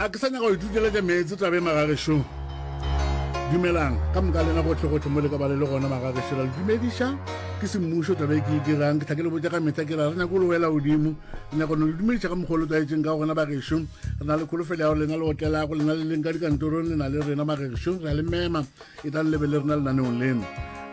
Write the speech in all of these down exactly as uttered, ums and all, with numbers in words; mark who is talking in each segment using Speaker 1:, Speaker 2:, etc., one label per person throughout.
Speaker 1: Ga ke sa nyaka go ituteletša meetse tabe magagešo. Dumelang ka moka lena gotlhe-gotlhe mo le ka ba le le gona magagešo. Ra le dumediša ke semmušo tabe ke e dirang. Ke tla ke le botša ka mehla ke ra re nyako le wela godimo. Re nyaka no le dumediša ka mokgwa o le tlwaetšeng ka gona bagešo. Re na le kholofelo ya gore lena le otlelago, lena le leng ka dikantorong, le na le rena magagešo. Re a le mema e tlang le be le rena lenaneong leno.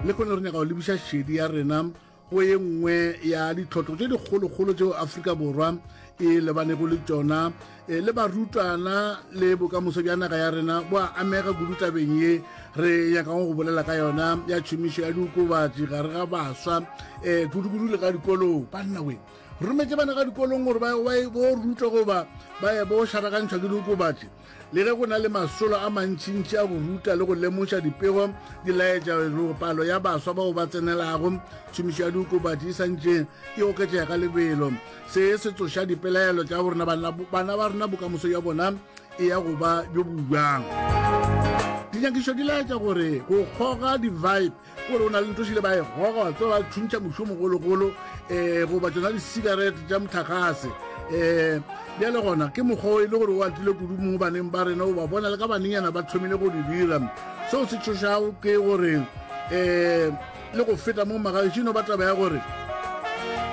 Speaker 1: Le kgone re nyaka go lebiša šedi ya rena go ye nngwe ya ditlhotlo tše dikgolokgolo tšeo Afrika Borwa e lebanego le tšona, e, le barutwana le bokamoso bja naga ya rena bo a amega kudu tabeng ye re nyakago go bolela ka yona ya tšhomišo ya diokobatši gare ga baswa, um kudu-kudu le ka dikolong. Banna we, re rometše bana ka dikolong gore ba bo rutwa goba ba ye bo šarakantšhwa ke diokobatši. Le ge go na le masolo a mantšintši a go ruta le go lemoša, dipego di laetša gore palo ya baswa bao ba tsenelago tšhomišo ya diokobatši e santše e oketšega ka lebelo. Se se tsoša dipelaelo tša gore bana ba rena bokamoso bja bona e ya go ba bjo bo bjang. Dinyakišo di laetša gore go kgoga di-vibe, gore o na le ntho šile ba e goga, wa tseba ba thuntšha moši o mogologolo, um goba tšona di-cigarette tša motlakgase, um bjale gona ke mokgwa o e le gore o atile kudu mo baneng ba rena, o ba bona le ka banenyana ba thomile go di dira. Seo se tšhošago ke gore um le go feta mo magaešino ba taba ya gore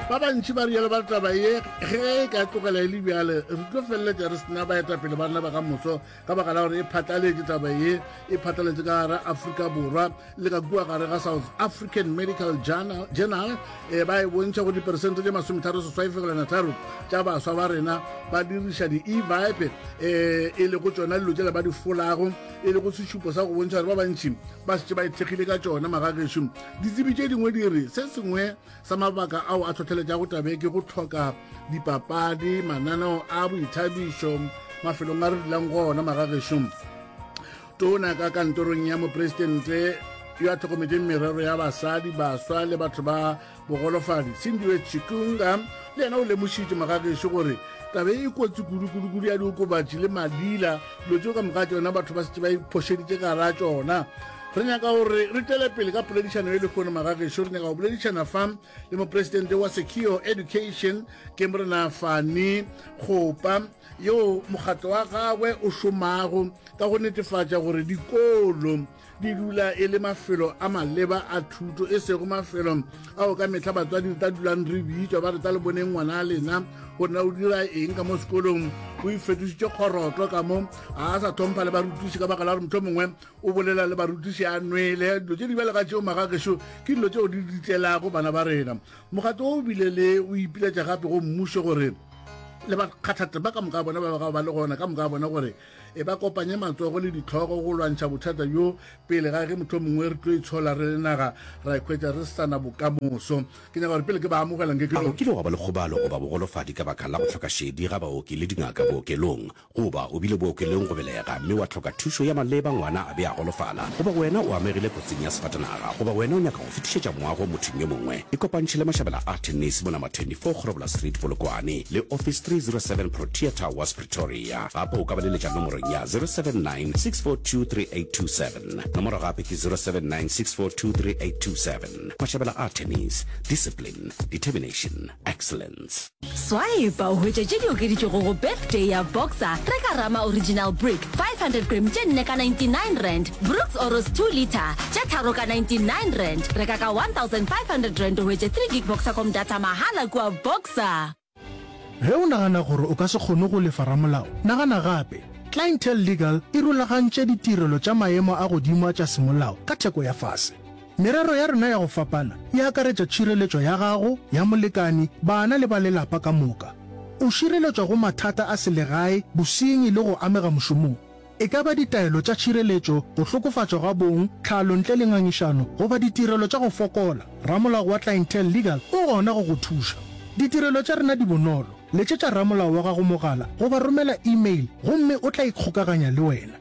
Speaker 1: ba bantši ba rialo ba taba ye ge e ka tlogela e le bjale re tlo feleletša re sena baetapele ba rena ba ka moso ka baka la gore e phatlaletše taba ye, e phatlaletše ka gare Afrika Borwa le ka kua gare ga South African Medical Journal, Journal e ba e bontšha gore diperesente tše masometharo seswai fegelwana tharo tša baswa ba rena ba diriša di-e-vibe, um e le go tšona dilo tšela ba di folago, e le go sešupo sa go bontšha gore ba bantši ba šetše ba ithekgile ka tšona magagešo. Ditsebi tše dingwe di re se sengwe sa mabaka ao a tlhotlheletšago tabe ke go tlhoka dipapadi, mananeo a boithabišo mafelong a re dulang go ona magagešo. Tona ka kantorong ya mopresidente yo a tlhokometšeng merero ya basadi, baswa le batho ba bogolofadi, Sindiwe Chikunga, le yena o lemošitše magagešo gore tabe e kotsi kudu-kudu-kudu ya diokobatši le madila, dilo tšeo ka moka tšona batho ba šetše ba iphošeditše ka gara tšona. Re nyaka gore re tšwele pele ka poledišano e lehono magagešo. Re nyaka go boledišana fa le mopresidente wa Secure Education ke morena Fani Kgopa, yo mokgatlo wa gagwe o šomago ka go netefatša gore dikolo di dula e le mafelo a maleba a thuto, e sego mafelo ao ka mehla batswadi re tla dulang re bitšwa ba re tla le boneng ngwana a lena gore na o dira eng ka mo sekolong, o ifetošitše kgorotlo ka mo, ga a sa tlhompha le barutiši ka baka la gore mohlomongwe o bolela le barutiši a nwele. Dilo tše di bjale ka tšeo magagešo ke dilo tšeo di ditlelago bana ba rena. Mokgatlo o bile le o ipiletša gape go mmušo gore le bakgathatema ka moka bona ba ba ba le gona ka moka bona gore e ba kopanye matsogo le ditlhogo go lwantšha bothata bjo pele ga ge motho mongwe re tlo itshola re le naga ra ikhwetša re sa na bokamoso. Ke nyaka gore pele ke ba amogelang ke
Speaker 2: A o kile wa ba le kgobalo goba bogolofadi ka baka la go hloka šedi ga baoki le dingaka bookelong? Goba o bile bookelong go belega mme wa hloka thušo ya maleba ngwana a be a golofala? Goba wena o amegile kotsing ya sefatanaga? Goba wena o nyaka go fetišetša moago mothong yo mongwe? Ikopantšhe le Mashabela Attorneys mo number twenty-four Grobler Street, Polokwane, le office three zero seven Protea Towers, Pretoria. Gape o ka ba leletša nomorong ya zero seven nine six four two three eight two seven. Nomoro gape ke zero seven nine six four two three eight two seven. Mashabela Attorneys, discipline, determination, excellence.
Speaker 3: Swipe o hwetše tše di okeditšwego go birthday ya Boxer. Reka Rama Original Brick five hundred gram tše nne ka ninety-nine rand, Brooks Oros two litre tše tharo ka ninety-nine rand. Reka ka one thousand five hundred rand o hwetše three gig Boxercom data mahala kua Boxer.
Speaker 4: Ge o nagana gore o ka se kgone go lefa ramolao, nagana gape. Clientele Legal e rulagantše ditirelo tša maemo a godimo tša semolao ka theko ya fase. Merero ya rena ya go fapana e akaretša tšhireletšo ya gago, ya molekani, bana le ba lelapa ka moka. O šireletšwa go mathata a selegae, bosenyi le go amega mošomong. E ka ba ditaelo tša tšhireletšo, go hlokofatšwa ga bong, tlhalo ntle le ngangišano, goba ditirelo tša go fokola, ramolao wa Clientele Legal o gona go go thuša. Ditirelo tša rena di bonolo. Letšetša ramolao wa gago mogala goba romela email gomme o tla ikgokaganya le wena.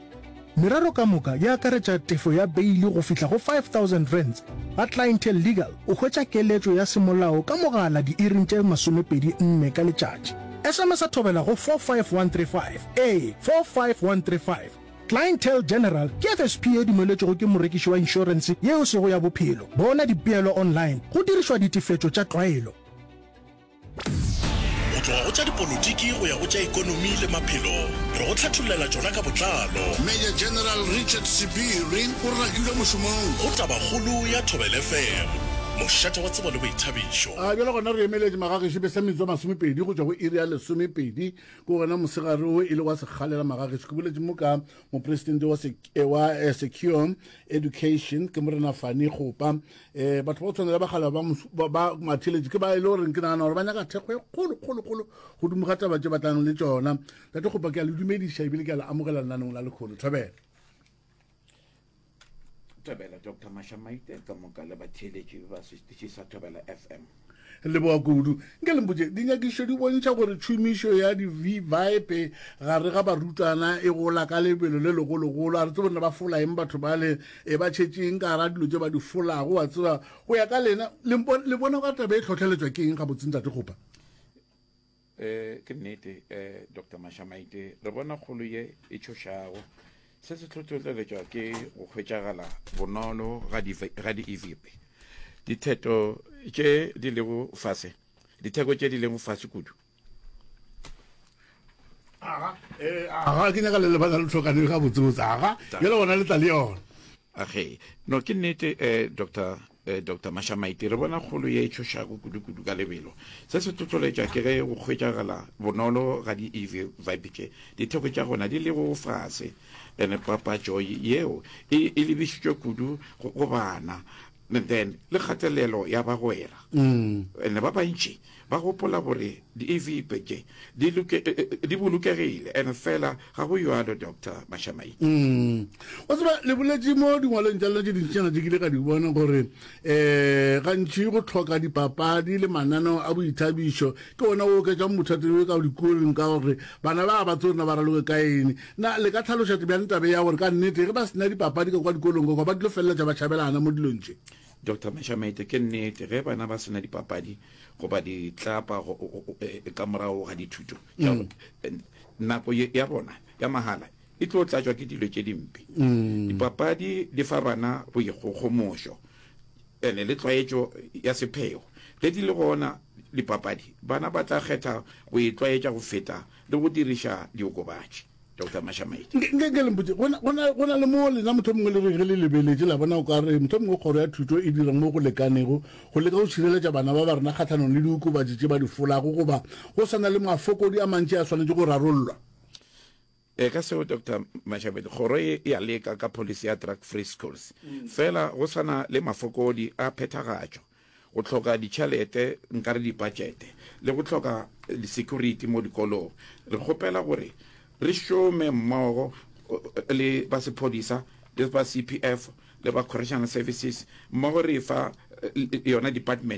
Speaker 4: Merero ka moka e akaretša tefo ya beili go fihla go five thousand rands. Ga Clientele Legal o hwetša keletšo ya semolao ka mogala diiring tše masomepedi nne ka letšatši. S M S a thobela go four five one three five, ee, four five one three five. Clientele General ke F S P e dumeletšwego ke morekiši wa inšorense ye e sego ya bophelo. Bona dipeelo online go dirišwa ditefetšo tša tlwaelo.
Speaker 5: O tloga go tša dipolotiki go ya go tša ekonomi le maphelo, re go hlathollela tšona ka botlalo.
Speaker 1: Major General Richard Sebiri o rakilwe mošomong.
Speaker 5: Go Tabakgolo ya Thobela F M, mošate wa tsebo le boithabišo.
Speaker 1: A bjale gona re emeletše magagešo be sa metsotso masomepedi go tšwa go iri ya lesomepedi ke gona mosegare wo e le wa sekgalela magagešo. Ke boletše mo ka mopresidente wa wa eh, Secure Education ke Morena Fani Kgopa. um batho ba go tshwana le bagala ba ba matheletše ke ba e le goreng ke nagana gore ba nyaka thekgo e kgolo kgolo kgolo godimo ga taba tše batlang le tšona. Tate Kgopa, ke a le dumediša ebile ke a le amogela lenaneng la lekgono. Thobela.
Speaker 6: Thobela, Doctor Mashamaite, ka moka le batheeletši ba setiši sa Thobela F M.
Speaker 1: Leboga kudu. Nke le mpotše, dinyakišišo di bontšha gore tšhomišo ya di-vape gare ga barutwana e gola ka lebelo le legologolo. A re tsebe rena ba fola eng batho bale, e ba tšhetše eng ka gara dilo tše ba di folago, wa tseba. Go ya ka lena, le bona ka taba e hlohleletšwa ke eng gabotse, Ntate Kgopa?
Speaker 6: um ke nnete, um Doctor Mashamaite, re bona kgolo ye e tšhošago. Se se hlohleletšwa ke go hwetšagala bonolo ga di-e-vape, ditheto tše di lego fase, ditheko tše di lego fase kudu.
Speaker 1: Aga, eh, aga ke nyaka le lebana le tlhokane ga botsebotse. Aga, bjale gona le tla le yona.
Speaker 6: Age, no, ke nnete, um doctor eh, Doctor Mashamaite, re bona kgolo ye e tšhošago kudu-kudu ka lebelo. Se se hlohleletšwa ke ge go hwetšagala bonolo ga di-e-vape tše, ditheko tša gona di lego fase, ene papatšo yeo e, e lebišitšwe kudu go, go bana, and then le kgatelelo ya bagwera. Ene ba bantši ba gopola gore di-e-vape tše di loke, di bolokegile, ene fela ga go jalo, Doctor Mashamaite.
Speaker 1: Mm. Wa tseba, le boletše mo dingwalong tša lena tše dintšinyana tše ke ile ka di bona gore um gantši go tlhoka dipapadi le mananeo a boithabišo ke ona o oketšang bothata bjo ka dikolong, ka gore bana ba ba tsebe rena ba raloke ka eng. Na le ka tlhaloša bjang tabe ya gore ka nnete ge ba sena dipapadi ka kwa dikolong ka kwa ba tlo feleletša ba tšhabelana mo dilong tše?
Speaker 6: Doctor Mashamaite, ke nnete, ge bana ba sena dipapadi goba ditlapa ka morago ga dithuto, mm. nako ya bona ya mahala e tlo tlatšwa ke dilo tše dimpe. mm. Dipapadi di fa bana boikgogomošo ene le tlwaetšo ya sepheo. Ge di le gona dipapadi, bana ba tla kgetha go itlwaetša go feta le go diriša diokobatši, Doctor Mashamaite.
Speaker 1: Nke ke le mpotše, go na le mo lena motho mongwe le re ge le lebeletše la bona o ka re motho mongwe kgoro ya thuto e dira mo go lekanego go leka go šireletša bana ba ba rena kgahlanong le diokobatši tše ba di folago, goba go sa na le mafokodi a mantši a swanetše go rarollwa?
Speaker 6: E ka seo, Doctor Mashabedi, kgoro e ya leka ka policy ya drug free schools, fela go sana le mafokodi a phethagatšo, go hloka ditšhelete, nkare dipatšete, le go hloka di-security mo dikolong. Re kgopela gore re šome mmogo le ba sephodisa le ba C P F le ba correctional services mmogo, re fa yona department.